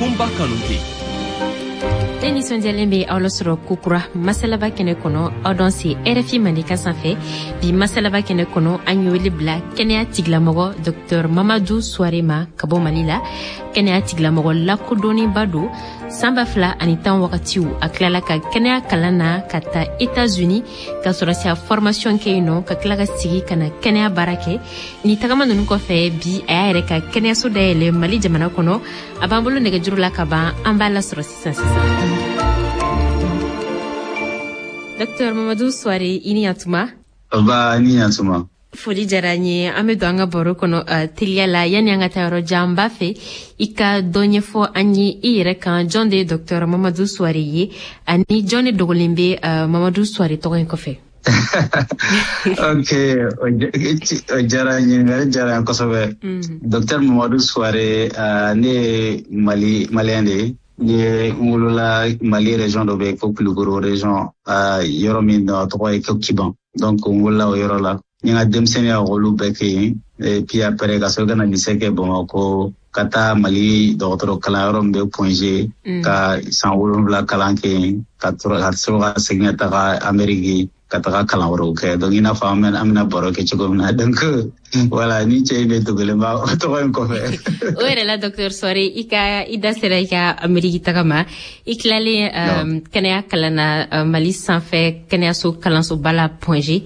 Kunba Kanute. Ne nisɔndiyalen bɛ aw lasɔrɔ kokura masalaba kɛnɛ kɔnɔ, aw dɔn se RFI Mandenkan sanfɛ. Bi masalaba kɛnɛ kɔnɔ, an ye wele bila kɛnɛya tigilamɔgɔ Dr Mamadu Suware ma ka bɔ Mali la. Kɛnɛya tigilamɔgɔ lakodɔnnenba don. San 2010 wagatiw, a tilala ka kɛnɛya kalan na ka taa Etats-Unis ka sɔrɔsiya formation kɛ yen nɔ, ka tila ka sigi ka na kɛnɛya baara kɛ. Ni tagama ninnu kɔfɛ, bi a y'a yɛrɛ ka kɛnɛyaso dayɛlɛ Mali jamana kɔnɔ. A b'an bolo nɛgɛjuru la ka ban, an b'a lasɔrɔ sisan sisan. Dr Mamadu Suware, i ni yantuma. Ba, ni yantuma. Foli diyara n ye. An bɛ don an ka baro kɔnɔ teliya la. Yanni an ka taa yɔrɔ jan, b'a fɛ i ka dɔ ɲɛfɔ an ye i yɛrɛ kan. Jɔn de ye Dr Mamadu Suware ye, ani jɔn de dogolen bɛ Mamadu Suware tɔgɔ in kɔfɛ? Ok, o diyara n ye, ɲininkali diyara n ye kosɛbɛ. Docteur Mamadu Suware, ne ye Mali malien de ye. Ne ye n wolola Mali région dɔ bɛ yen ko Kulukoro région, yɔrɔ min a tɔgɔ ye ko Kiban. Donc n wolola o yɔrɔ la. N ye n ka denmisɛnninya olu bɛɛ kɛ yen. Et puis après, ka sɔrɔ ka na lycée kɛ Bamakɔ, ka taa Mali dɔgɔtɔrɔ kalanyɔrɔ min bɛ Point G, ka san 7 kalan kɛ yen, ka sɔrɔ ka segin ka taga Amérique ka taga kalan wɛrɛw kɛ. Donc i n'a fɔ an bɛna baro kɛ cogo min na, donc voilà, ni cɛ in de dogolen b'a o tɔgɔ in kɔfɛ. O yɛrɛ la, Docteur Suware, i ka i da sera i ka Ameriki taga ma. I tilalen kɛnɛya kalan na Mali sanfɛ kɛnɛyaso kalansoba la Point G,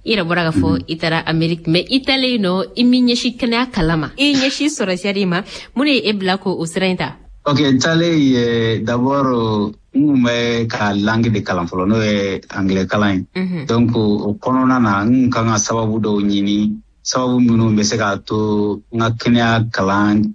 i yɛrɛ bɔra k'a fɔ i taara Ameriki, mais i taalen nɔ, i m'i ɲɛsin kɛnɛya kalan ma, i ɲɛsin sɔrɔsiya de ma. Mun de ye e bila ko o sira in ta? Ok, n taalen ye, d'abord n kun bɛ ka langue de kalan fɔlɔ, n'o ye anglais kalan ye. Donc o kɔnɔna na, n kun kan ka sababu dɔw ɲini, sababu minnu bɛ se k'a to n ka kɛnɛya kalan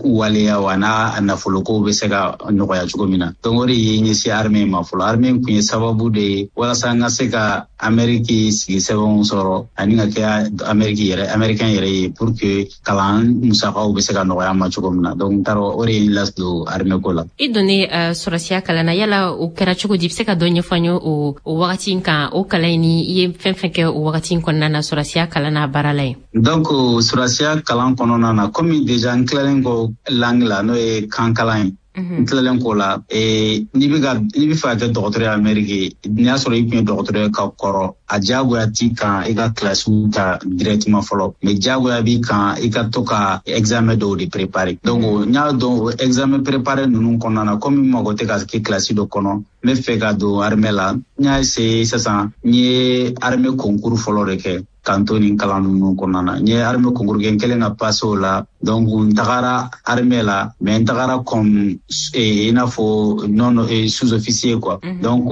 waleya wa n'a nafolokow bɛ se ka nɔgɔya cogo min na. Donc o de ye ɲɛsin armée ma fɔlɔ. Armée kun ye sababu de ye walasa n ka se ka Amérique sigi sɛbɛnw sɔrɔ ani ka kɛ Amérique yɛrɛ, américain yɛrɛ ye, pour que kalan musakaw bɛ se ka nɔgɔya ma cogo min na. Donc n taara, o de ye n ladon armée ko la. I donnen sɔrɔsiya kalan na, yala o kɛra cogo di? I bɛ se ka dɔ ɲɛfɔ an ye o wagati in kan, o kalan in, ni i ye fɛn fɛn kɛ o wagati in kɔnɔna na sɔrɔsiya kalan n'a baara la yen? Donc sɔrɔsiya kalan kɔnɔna na, komi déjà n tilalen kɔ langue la, n'o ye kan kalan ye, n tilalen k'o la, n'i bɛ fɛ ka kɛ dɔgɔtɔrɔ ye Amérique, n'i y'a sɔrɔ i tun ye dɔgɔtɔrɔ ye ka kɔrɔ, a diyagoya t'i kan i ka kilasiw ta directement fɔlɔ, mais diyagoya b'i kan i ka to ka examen dɔw de préparer. Donc n y'a dɔn o examen préparer ninnu kɔnɔna na, komi n mago tɛ ka kɛ kilasi dɔ kɔnɔ, n bɛ fɛ ka don armée la. N y'a essayer sisan, n ye armée concours fɔlɔ de kɛ k'an to nin kalan ninnu kɔnɔna na. N ye armée concours kɛ, n kɛlen ka passer o la, donc n tagara armée la, mais n tagara comme i n'a fɔ non sous-officier quoi. Donc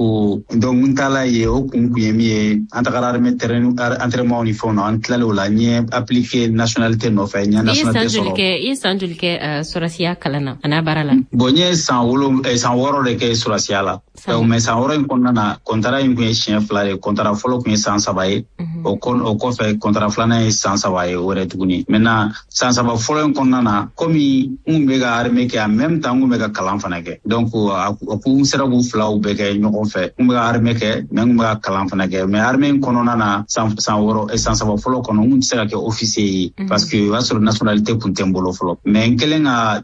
n taala yen, o kun ye min ye, an tagara armée terrain entraînement ni fɛnw na. An tilalen o la, n ye appliquer nationalité nɔfɛ, n ye nationalité sɔrɔ. I ye san joli kɛ sɔrɔsiya kalan na a n'a baara la? Bon, n ye san 6 de kɛ sɔrɔsiya la. Donc mais san 6 in kɔnɔna na, contrat in kun ye siɲɛ 2 de ye. Contrat fɔlɔ kun ye san 3 ye, o kɔfɛ contrat filanan ye san 3 ye o yɛrɛ tuguni. Maintenant san 3 fɔlɔ in kɔnɔna na, komi n kun bɛ ka armée kɛ, en même temps n kun bɛ ka kalan fana kɛ, donc a kun sera k'u filaw bɛɛ kɛ ɲɔgɔn fɛ. N kun bɛ ka armée kɛ, mais n kun bɛ ka kalan fana kɛ. Mais armée in kɔnɔna na, san 6, san 3 fɔlɔ kɔnɔ, n kun tɛ se ka kɛ officier ye parce que o y'a sɔrɔ nationalité kun tɛ n bolo fɔlɔ. Mais n kɛlen ka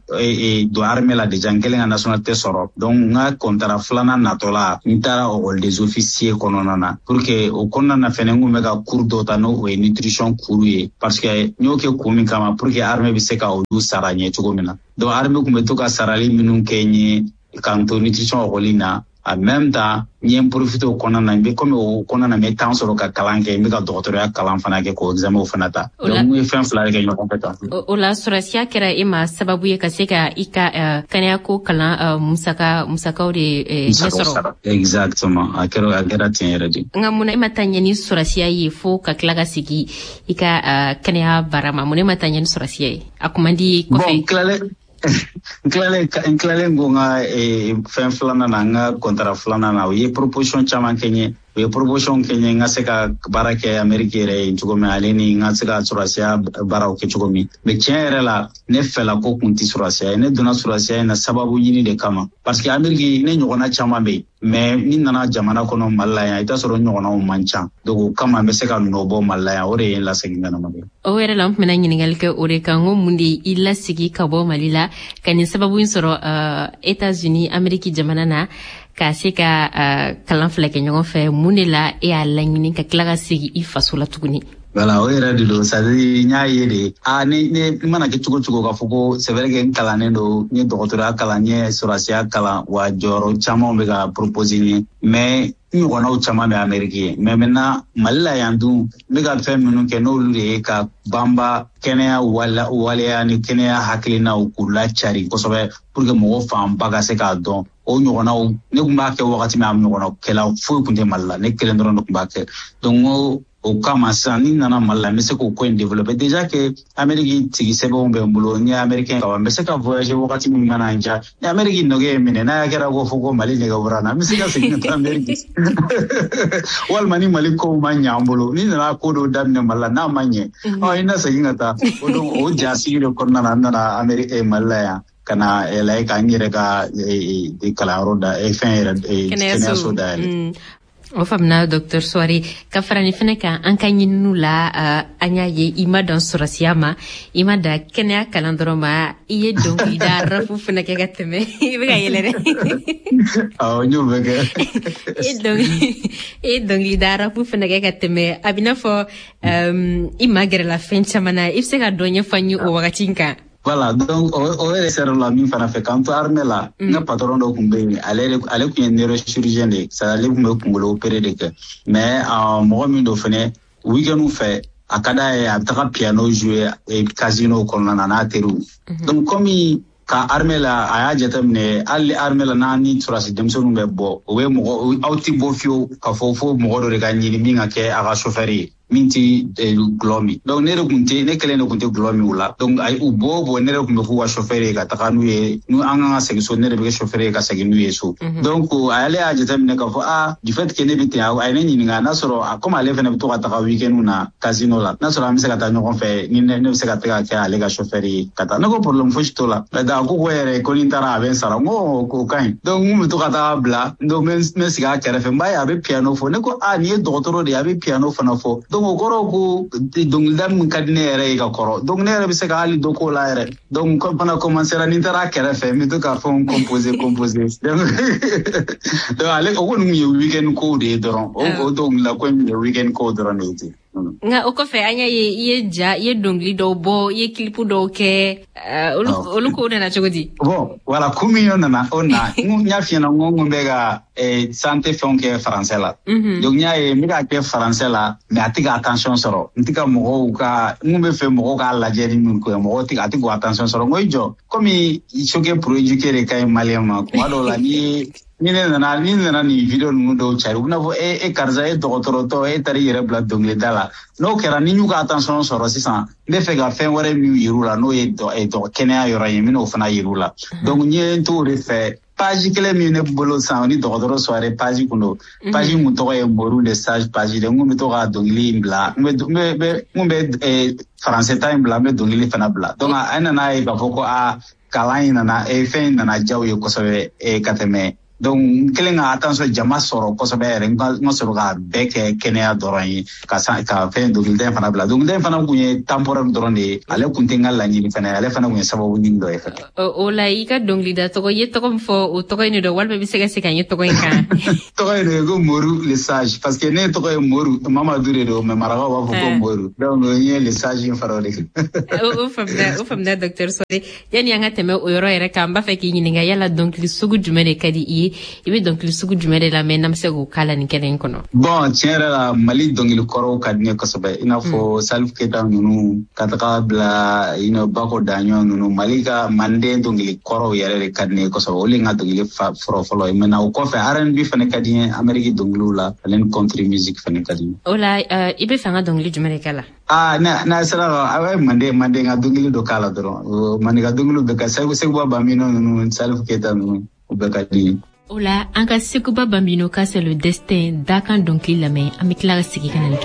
don armée la déjà, n kɛlen ka nationalité sɔrɔ, donc n ka contrat filanan natɔla, n taara école des officiers kɔnɔna na, pour que o kɔnɔna na fɛnɛ, n kun bɛ ka cours dɔ ta, n'o o ye nutrition cours ye, parce que n y'o kɛ kun min kama, pour que armée bɛ se ka olu sara ɲɛ cogo min na. Donc armée kun bɛ to ka sarali minnu kɛ n ye k'an to nutrition école na, en même temps n ye n profiter o kɔnɔna na, n bɛ komi o kɔnɔna na, n bɛ temps sɔrɔ ka kalan kɛ, n bɛ ka dɔgɔtɔrɔya kalan fana kɛ, k'o examen fana ta. Donc n ye fɛn fila de kɛ ɲɔgɔn fɛ tan. O la, sɔrɔsiya kɛra e ma sababu ye ka se ka i ka kɛnɛyako kalan musakaw de ɲɛsɔrɔ. Exactement, a kɛra ten yɛrɛ de. Nka mun na e ma taa ɲɛ ni sɔrɔsiya ye fo ka tila ka segin i ka kɛnɛya baara ma? Mun e ma taa ɲɛ ni sɔrɔsiya ye? A kun man di kɔfɛ? Bon, n tilalen ko n ka fɛn filanan na, n ka contrat filanan na, o ye proposition caman kɛ n ye. U ye proposition kɛ n ye n ka se ka baara kɛ Amérique yɛrɛ ye cogo min, ale ni n ka se ka sɔrɔdasiya baaraw kɛ cogo min. Mais tiɲɛ yɛrɛ la, ne fɛla ko kun tɛ sɔrɔdasiya ye. Ne donna sɔrɔdasiya in na sababu ɲini de kama, parce que Amérique, ne ɲɔgɔnna caman bɛ yen, mais ni nana jamana kɔnɔ Mali la yan, i t'a sɔrɔ ɲɔgɔnnaw man ca. Donc o kama n bɛ se ka nɔ bɔ Mali la yan, o de ye n lasegin ka na Mali la. O yɛrɛ la, n tun bɛna ɲininkali kɛ o de kan, ko mun de i lasegin ka bɔ Mali la ka nin sababu in sɔrɔ États-Unis Amérique jamana na, ka se ka kalan fila kɛ ɲɔgɔn fɛ? Mun de la e y'a laɲini ka tila ka segin i faso la tuguni? Voilà, o yɛrɛ de don. C'est à dire, n y'a ye de, a ne mana kɛ cogo cogo, k'a fɔ ko c'est vrai que n kalannen don, n ye dɔgɔtɔrɔya kalan, n ye sɔrɔdasiya kalan, wa jɔyɔrɔ caman bɛ ka proposer n ye, mais n ɲɔgɔnnaw caman bɛ Amérique ye. Mais maintenant, Mali la yan dun, n bɛ ka fɛn minnu kɛ, n'olu de ye ka banba kɛnɛya waleya ni kɛnɛya hakilinaw k'u lacari kosɛbɛ pour que mɔgɔ fanba ka se k'a dɔn. O ɲɔgɔnnaw, ne tun b'a kɛ wagati min, a ɲɔgɔnnaw kɛla foyi tun tɛ Mali la, ne kelen dɔrɔn de tun b'a kɛ. Donc n ko o kama sisan, ni nana Mali la, n bɛ se k'o ko in développer. Déjà que Amérique tigi sɛbɛnw bɛ n bolo, n ye américain ka ban, n bɛ se ka voyager wagati min mana n diya. Ni Amérique nɛgɛ ye minɛ, n'a kɛra ko fɔ ko Mali nɛgɛ bɔra n na, n bɛ se ka segin ka taa Amérique. Walima ni Mali kow ma ɲɛ an bolo, ni nana ko dɔw daminɛ Mali la, n'a ma ɲɛ, ɔ i na segin ka taa. O donc o jasigi de kɔnɔna na, n nana Amérique, Mali la yan, ka na lajɛ ka n yɛrɛ ka kalanyɔrɔ da, fɛn yɛrɛ, kɛnɛyaso dayɛlɛ. O faamuna, docteur Souaré. Ka fara nin fɛnɛ kan, an ka ɲininiw la, an y'a ye i ma dan sɔrɔsiya ma, i ma dan kɛnɛya kalan dɔrɔn ma, i ye dɔnkilida rap fɛnɛ kɛ ka tɛmɛ. I bɛ ka yɛlɛ dɛ. Awɔ, n y'o bɛɛ kɛ. E ye dɔnkilida rap fɛnɛ kɛ ka tɛmɛ. A bɛ n'a fɔ i ma gɛrɛla fɛn caman na. I bɛ se ka dɔ ɲɛfɔ an ye o wagati in kan? Voilà, donc o yɛrɛ sera la min fana fɛ, k'an to armée la, n ka patron dɔ tun bɛ yen, ale tun ye neurochirurgien de ye, c'est ale tun bɛ kunkolo opéré de kɛ. Mais mɔgɔ min don fɛnɛ, week-end fɛ, a ka d'a ye, a bɛ taga piano jouer casino kɔnɔna na n'a teriw. Donc comme ka armée la, a y'a jateminɛ, hali armée la, n'a ni sɔrɔdasi denmisɛnninw bɛ bɔ, o bɛ mɔgɔ, aw ti bɔ fiyewu k'a fɔ fo mɔgɔ dɔ de ka ɲini min ka kɛ a ka chauffeur ye, min ti gulɔ min. Donc ne de kun tɛ, ne kelen de kun tɛ gulɔ min o la. Donc ayi, u bɔ o bɔ, ne de kun bɛ k'u ka chauffeur ye ka taga n'u ye. N'u an kan ka segin so, ne de bɛ kɛ chauffeur ye ka segin n'u ye so. Donc ale y'a jateminɛ k'a fɔ, ah, du fait que ne bɛ ten, a ye ne ɲininka n'a sɔrɔ, comme ale fana bɛ to ka taga week-end na casino la, n'a sɔrɔ an bɛ se ka taa ɲɔgɔn fɛ, ni ne bɛ se ka taga kɛ ale ka chauffeur ye ka taa. Ne ko problème fosi t'o la. A ko ko yɛrɛ ko ni n taara, a bɛ n sara. N ko o ka ɲi. Donc n kun bɛ to ka taga bila. Donc n bɛ sigi a kɛrɛfɛ, n b'a ye a bɛ piano fɔ. Ne ko, ah, nin ye dɔgɔtɔrɔ de ye, a bɛ piano fana fɔ. Donc o kɔrɔ ko dɔnkilida min ka di ne yɛrɛ ye ka kɔrɔ, donc ne yɛrɛ bɛ se ka hali dɔ k'o la yɛrɛ. Donc fana commencera, ni n taara a kɛrɛfɛ, n bɛ to ka fɛnw composer. Donc ale o kɔni tun ye weekend kow de ye dɔrɔn. O dɔnkilida ko in ye weekend kow dɔrɔn de ye ten. Nka o kɔfɛ, an y'a ye i ye ja, i ye dɔnkili dɔw bɔ, i ye clip dɔw kɛ. Olu kow nana cogo di? Bon, voilà, kun min o nana o na, n y'a f'i ɲɛna, n ko n kun bɛ ka santé fɛnw kɛ français la. Donc n y'a ye n bɛ k'a kɛ français la, mais a tɛ ka attention sɔrɔ. N tɛ ka mɔgɔw ka, n kun bɛ fɛ mɔgɔw k'a lajɛ ni min ko ye, mɔgɔw tɛ, a tɛ k'o attention sɔrɔ. N ko i jɔ, komi choquer pour éduquer de ka ɲi malien ma, kuma dɔw la, ni ne nana nin vidéo ninnu dɔw cari, u bɛna fɔ e karisa, e dɔgɔtɔrɔtɔ, e taara i yɛrɛ bila dɔnkilida la. N'o kɛra, ni y'u ka attention sɔrɔ sisan, n bɛ fɛ ka fɛn wɛrɛ min yir'u la, n'o ye kɛnɛya yɔrɔ ye, n bɛn'o fana yir'u la. Donc n ye n t'o de fɛ, page kelen min ne bolo sisan ni dɔgɔtɔrɔ Souaré page kun don. Page kun tɔgɔ ye Moru le Sage page de. N kun bɛ to ka dɔnkili in bila, n kun bɛ français ta in bila, n bɛ dɔnkili fana bila. Donc a nana ye k'a fɔ ko aa, kalan in nana, fɛn in nana diya u ye kosɛbɛ ka tɛmɛ. Donc n kɛlen ka attention jama sɔrɔ kosɛbɛ yɛrɛ, n ka sɔrɔ k'a bɛɛ kɛ kɛnɛya dɔrɔn ye, ka san ka fɛn dɔnkilida in fana bila. Dɔnkilida in fana kun ye temporaire dɔrɔn de ye, ale kun tɛ n ka laɲini fana ye, ale fana kun ye sababu ɲini dɔ ye fɛnɛ. O la, i ka dɔnkilida tɔgɔ, i ye tɔgɔ min fɔ, o tɔgɔ in de don, walima i bɛ se ka segin an ye tɔgɔ in kan? Tɔgɔ in de ye ko Moru le Sage, parce que ne tɔgɔ ye Moru Mamadu de don, mais marakaw b'a fɔ ko Moru. Donc n ye le Sage in fara o de kan. O faamuna, o faamuna, docteur Souaré. Yani an ka tɛmɛ o yɔrɔ yɛrɛ kan, n b'a fɛ k'i ɲininka, yala dɔnkili sugu jumɛn de ka di i ye? I bɛ dɔnkili sugu jumɛn de lamɛn, n'an bɛ se k'o k'a la nin kɛnɛ in kɔnɔ? Bon, tiɲɛ yɛrɛ la, Mali dɔnkili kɔrɔw ka di ne kosɛbɛ, i n'a fɔ Salif Keita ninnu, ka taga bila Bako Daɲɔ ninnu. Mali ka manden dɔnkili kɔrɔw yɛrɛ de ka di ne ye kosɛbɛ, olu ye n ka dɔnkili fɔlɔ fɔlɔ ye. Maintenant o kɔfɛ, R&B fana ka di n ye Amérique dɔnkiliw la, ale ni country music fana ka di n ye. O la, i bɛ fɛ an ka dɔnkili jumɛn de k'a la? Ah, n'a sera ka, a bɛ manden ka dɔnkili dɔ k'a la dɔrɔn. Manden ka dɔnkiliw bɛɛ ka, Sekuba Bambino ninnu, Salif Keita ninnu, o bɛɛ ka di n ye. O la, an ka Sekuba Bambino ka C'est le destin dakan dɔnkili lamɛn. An bɛ tila ka segin ka na nin kɛnɛ.